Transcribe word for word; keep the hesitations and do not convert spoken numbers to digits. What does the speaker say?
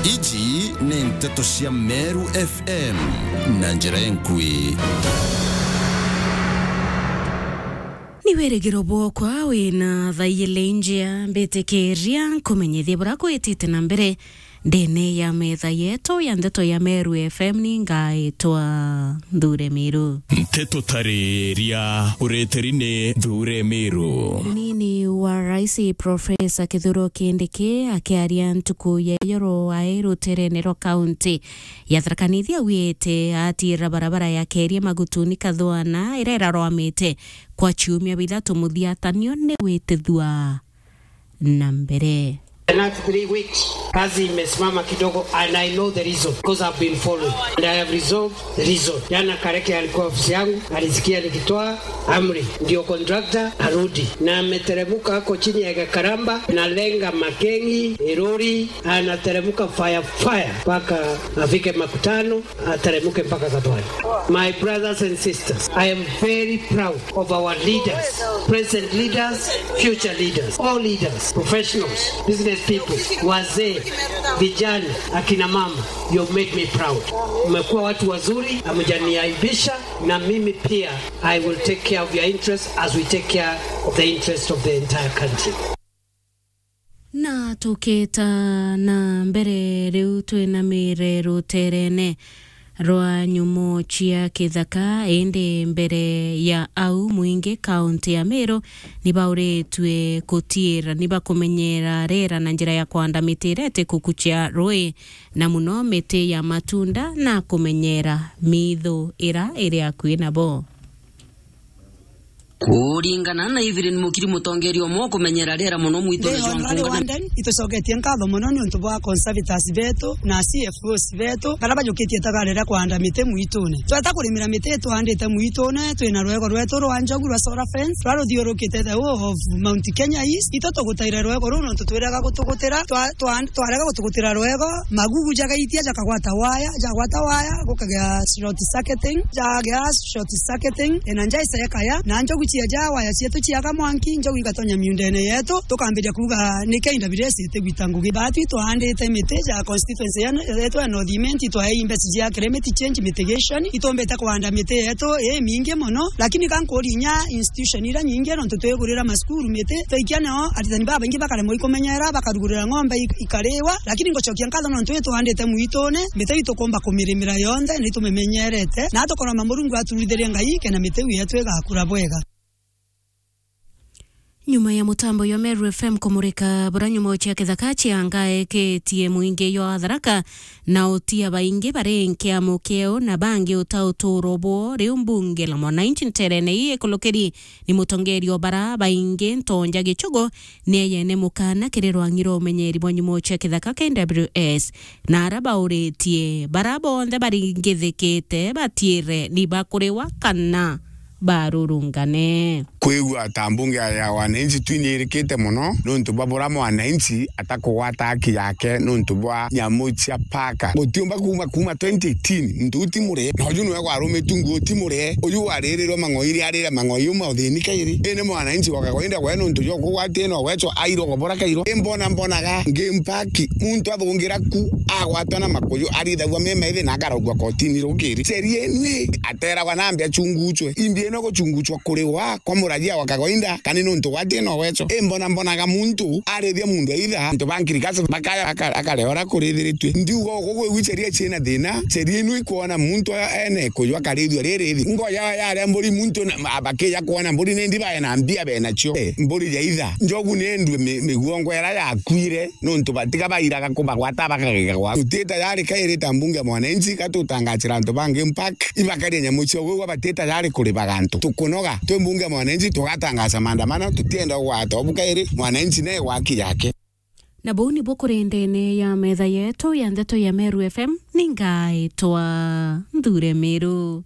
Iji ni nteto cia Meru F M na njira enkui. Ni wirigiro bwokwa wina thaiyile njia, mbitikiria nkumenyithie bura kwitite na mbere ndene ya metha yetu ya ndeto ya Meru F M. Ni ngaitwa Nthure Miru. Nteto tariria ureteri ni Nthure Miru. Munini wa Rais Professor Kithure Kindiki akiaria ntuku ya iyoro ae ruterene rwa kaunti ya Tharaka Nithi augite atiira barabara ya Keria Magutuni Kathwana iria irarwamite kwa ciumia bithatu muthiatanio ni gwitithua na mbere. The last three weeks, kazi imesimama kidogo, and I know the reason, because I've been following, and I have resolved the reason. Jana Kareke alikuwa ofisi yangu, alisikia nikitoa amri, ndio contractor arudi, na ameteremuka ako chini ya Gakaramba, na lenga Makengi, Iruri, anateremuka fire fire mpaka afike Makutano, ateremuke mpaka Gathwani. My brothers and sisters, I am very proud of our leaders, present leaders, future leaders, all leaders, professionals, business people, wazee, vijana, akina mama. You made me proud. Mmekuwa watu wazuri, hamjaniaibisha, na mimi pia I will take care of your interests as we take care of the interest of the entire country. Na tukita na mbere, riu twinamire ruterene rwa nyumo cia kithaka, indi mbere ya au, mwingi kaunti ya Meru ni bauritue kutiira, ni bakumenyera riera na njira ya kwanda miti iria itikukucia rui, na muno miti ya matunda, na kumenyera mithu ira iri akui nabo. Kuringana na Evelyn Mukiri, mutongeria umwe wa kumenyera riera muno mwitune jwa Nkunga na Wanden, itucoketie nkatho muno ni untu bwa conservators betu na C F Os betu, baria bajukitie itagari ria kwanda miti mwitune. Tweta kurimira miti itwandite mwitune, twina rwego rwetu rwa njogu rwa solar fence, ruria ruthiurukite the whole of Mount Kenya East. Itu tugutaire rwego ruu nontu twirega gutugutira, twa-, twa-, twarega gutugutira rwego, magugu jagaitia jakagwata waya, jagwata waya, gukagea short circuiting, jagea short circuiting, ena nja isekaya, na njogu cia ja waya cietu ciaga mwanki, njogu igatonya miundene yetu, tukambiria kuuga, "Niki I W S itigwita ngugi?" Batwi twaandite miti ja constituency ya, yetu ya North Imenti, twaei mbeca cia climate change mitigation, itumbite kuanda miti yetu imingi mono, lakini ka nkuria inya institution iria nyingi, nontu twigurira masukuru miti, twaikia nao aritani babaingi bakaremwa ikumenyera, bakarugurira ng'ombe ik-, ikariwa, lakini ngucokia nkatho nontu itwandite mwitune, miti itukumba kumirimira yonthe, na itumimenyerete, na tukoroma Murungu aturithirie Ngai, kena miti iu yetu igakura bwega. Nyuma ya mutambo jwa Meru F M kumurika buria nyumo cia kithaka ciangaeketie mwingi jwa Tharaka, na utia baingi bari nkiamo kiao na bangi uta uturo bwao, riu mbunge la mwananchi nterene ii ikulukiri ni mutongeria o bara baingi Ntonja Gichugu ni eyene mukana kiri rwang'i rwa umenyeri bwa nyumo cia kithaka K W S, na ara bauritie bara bonthe baringithikite batiire ni bakuriwa kana barurungane. Kwigua ta mbunge ya, ya wananchi twinyirikite mono nontu bwa bura mwananchi atakugwata haki yake nontu bwa nyamu cia paka. Gutiumba kuuma, kuuma twenty eighteen, ntu ti mure. Na uju niwe gwarumitu nguo ti mure. Uju waririrwe mang'oi ri arire mang'oi uma uthini kairi. Indi mwananchi wa kawaida gwe nontu jwa kugwatia no gwecho airwo gobora kairo. Imbona mbonaga ngimpa ki muntu athungira ku agwatwa na makuyu arithagua mema ithi na akarogua kotini rukiri. Sheria inu i ateragwa na mbi achunguchwe. Imbi ino guchunguchwa kuriwa kwa murajia wa kawaida, kani nontu gwatie no wecho. Imbona mbonaga muntu arithia muntu aitha, antu ba nkirikasi bakaya aka-, akareora kurithiritwe. Ndiuga ugu gwi sheria ciina thina, sheria inu ikwona muntu a-, ene kuywa akarithua ririthi. Ngoya yaria mburi muntu na, ma-, bakiya kwona mburi ni ndi bae na mbia be nacio. Eh, mburi ya itha. Njogu ni endue mi-, miguongo ira yakuire. Nontu batiga bairaga kubagwata bakagega gwa. Tuti tayari kairi ta mbunge ya mwananchi, ka tutangachira antu bangi mpaka ibakaria nyamu cio gwigua bati tayari kuribaga antu. Tukunoga, twi mbunge ya mwananchi, tugatangacha maandamano, tutienda kugwata obu kairi, mwananchi ne gwaki yake. Na buu nibu kuri ndene ya metha yetu ya ndeto ya Meru F M, ni ngaitwa Nthure Miru.